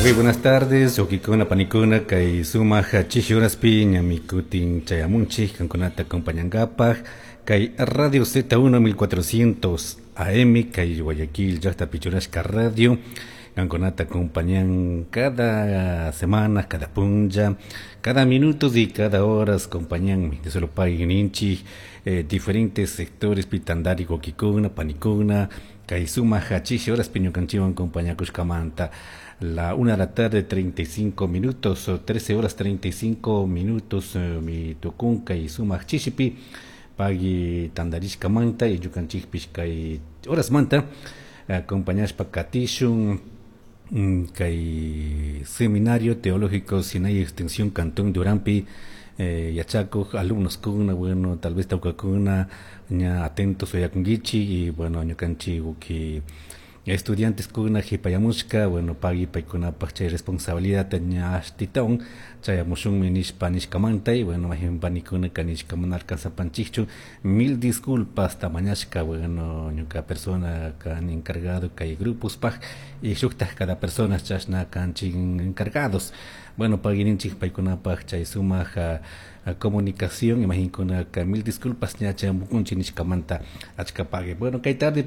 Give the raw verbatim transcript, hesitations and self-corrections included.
Muy buenas tardes, wawkikuna panikuna kay sumak chishi horaspi ñami kutin chayamunchik kankunata acompañankapaj kay Radio Z uno mil cuatrocientos A M, kay Guayaquil llaktapi churashka radio kankunata acompañan cada semana, cada punlla, cada minuto y cada horas acompañan de solo paguen ninchik eh, diferentes sectores pitandari wawkikuna panikuna kay sumak chishi horaspi ñukanchikwan acompañakushkamanta. La una de la tarde treinta y cinco minutos, trece horas treinta y cinco minutos eh, mi tukun kay sumak chishipi pagui tandarishkamanta y ñukanchikpish kay horasmanta acompañashpa katishun mm, kay Seminario Teológico Sinai Extensión Cantón Duranpi eh, yachakuj alumnos kuna. Bueno, tal vez tawkakuna ña atentos uyakunkichik y, bueno, ñukanchik uki estudiantes kuna hipayamushka, bueno, pagui paykunapaj chay responsabilidad ña ashtitawan chayamushunmi nishpa nishkamanta y, bueno, majin panikuna nishka mana alcanzapanchikchu, mil disculpas tamañashka. Bueno, ñuka persona kan encargado kay grupospaj y shuktaj cada persona chashna kanchik encargados. Bueno, pagui ninchik paykunapaj chay sumak comunicación, imaginkuna mil disculpas ña chayamukunchik nishkamanta, achka pagui. Bueno, kay tarde.